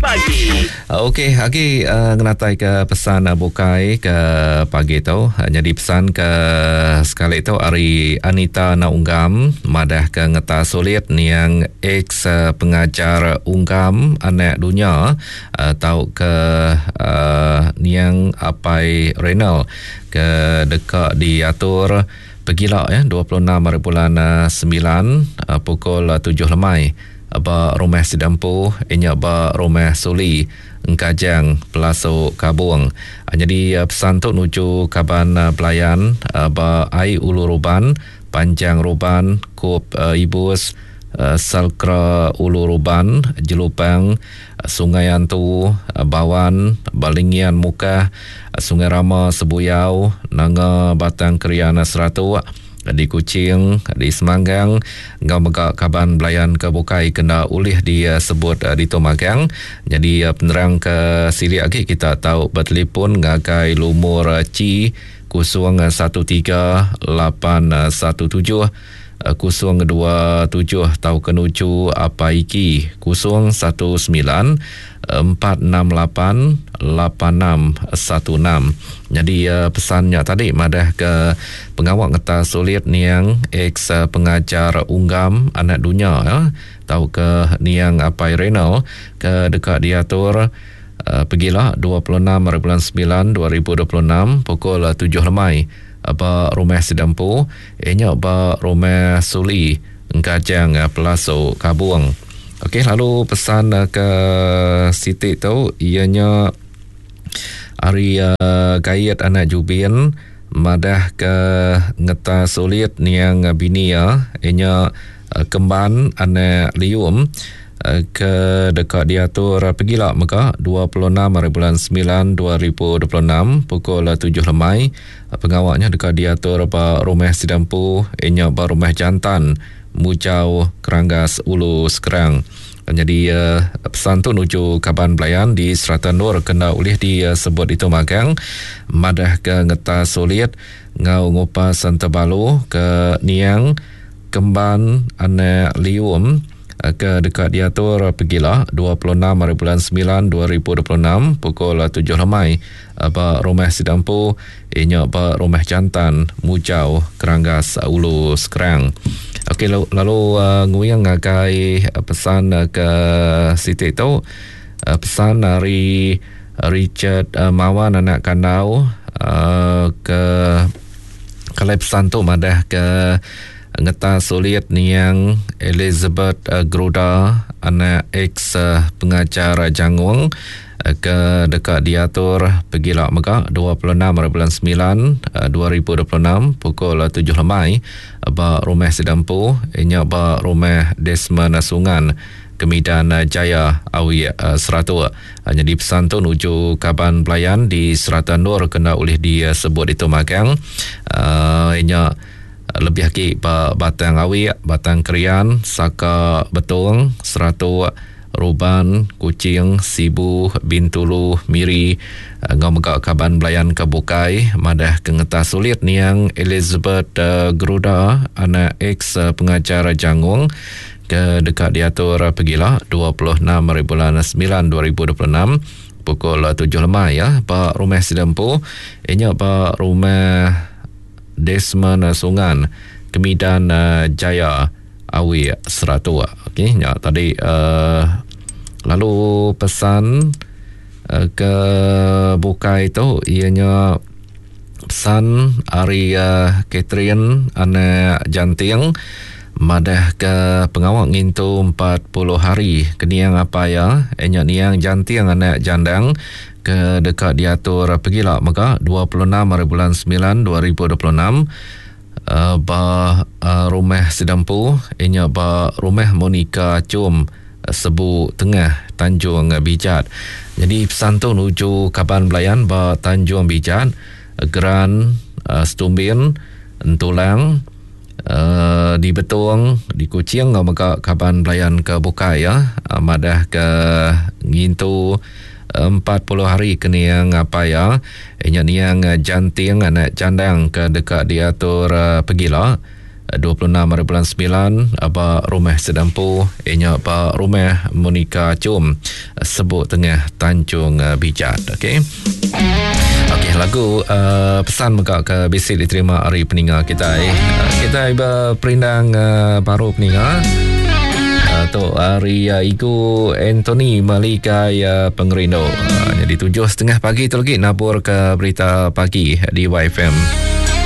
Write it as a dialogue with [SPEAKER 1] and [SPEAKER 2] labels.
[SPEAKER 1] Pagi.
[SPEAKER 2] Okey, agi ngenatai ke pesan bukai ke pagi tu. Nyadi pesan ke sekali tu ari Anita Naunggam madah ke ngeta sulit niang ex pengajar Unggam anak dunya tau ke niang Apai Renald ke deka diatur pegila ya 26 hari bulan 9 pukul 7 lemai. Ba rumah sida empu inya ba Rumah Suli, Engkajang, Pelasu Kabong. Nyadi pesan tu nuju kaban belayan ba ai Ulu Ruban, Panjang Ruban, Kup Ibus, Salkra Ulu Ruban, Jelupang, Sungai Antu, Bawan, Balingian Mukah, Sungai Rama Sebuyau, Nanga Batang Krian Seratok, di Kuching, di Semanggang enggau mega kaban belayan ke bukai ke enda ulih disebut ditu magang. Nyadi penerang ke silik agi kita tau betelefon ngagai lumur Chi 01 3817 027 tauka nuju Apai Iki 019 468 8616. Nyadi pesan nya tadi madah ke pengawa ngetas sulit niang ex pengajar Unggam anak dunya tauka niang Apai Renald ke deka diatur pegila 26 hari bulan 9 2026 pukul 7 lemai ba Rumah Sida Empu iya nya ba Rumah Suli Engkajang Pelasu Kabung. Okey lalu pesan ke siti tu iya nya ari Gait anak Jubin madah ke ngeta sulit niang bini iya iya nya Kemban anak Lium ke deka diatur pegila mega 26 hari bulan 9 2026 pukul 7 lemai. Pengawa nya deka diatur ba Rumah Sida Empu iya nya ba Rumah Jantan Mujau Keranggas Ulu Skrang. Nyadi pesan tu nuju kaban belayan di serata endur ke enda ulih disebut ditu magang madahka ngetas sulit enggau ngupas entebalu ke niang Kemban anak Lium ke deka diatur pegila 26 hari bulan 9 2026 pukul 7 lemai ba Rumah Sida Empu iya nya ba Rumah Jantan Mujau Keranggas Ulu Skrang. Okey lalu nguing ngagai pesan ke siti tu pesan ari Richard Mawan anak Kandau ke Kalai pesan tu madah ke ngeta sulit niang Elizabeth Gruda anak ex pengajar Jangong ke deka diatur pegila mega 26 hari bulan 9 2026 pukul 7 lemai ba Rumah Sida Empu nya ba Rumah Desmond Sungan Kemidan Jaya Awi Seratuk. Nyadi pesan tu nuju kaban belayan di serata endur ke enda ulih disebut ditu magang. Uhh nya lebih agi ba Batang Awik, Batang Krian, Saka Betong, Seratuk, Ruban, Kuching, Sibu, Bintulu, Miri enggau mega kaban belayan ke bukai madah ke ngetas sulit niang Elizabeth Geruda anak ex pengajar Jangong ke deka diatur pegila 26 hari bulan 9 2026 pukul 7 lemai ya ba rumah sida empu inya ba rumah Desmond Sungan Kemidan Jaya Awi Seratuk. Okey nya tadi uh, lalu pesan uh, ke bukai tu ianya Pesan ari Catherine anak Janting madahka pengawa ngintu 40 hari ke niang apai iya iya nya niang Janting anak Jandang ke deka diatur pegila mega 26 hari bulan 9 2026 ba rumah sida empu iya nya ba Rumah Monica Chum Sebu Tengah, Tanjung Bijat. Nyadi pesan tu nuju kaban belayan ba Tanjung Bijat, Geran, Setumbin, Entulang, di Betong, di Kuching enggau mega kaban belayan ke bukai ya madah ke ngintu 40 hari ke niang apai iya nya niang Janting anak Chandang ke deka diatur pegila. 26 hari bulan 9 ba rumah sida empu iya nya ba rumah Monica Chum Sebuk Tengah Tanjung Bijat. Okey. Okey lagu uh, pesan mega ke bisi diterima ari peninga kitai. Uh, kitai beperindang uh, baru peninga. Uh, tu ari uh, Igu Anthony Malikai uh, Pengerindu. Uh, jadi 7.30 pagi tu lagi nabur ke berita pagi di YFM.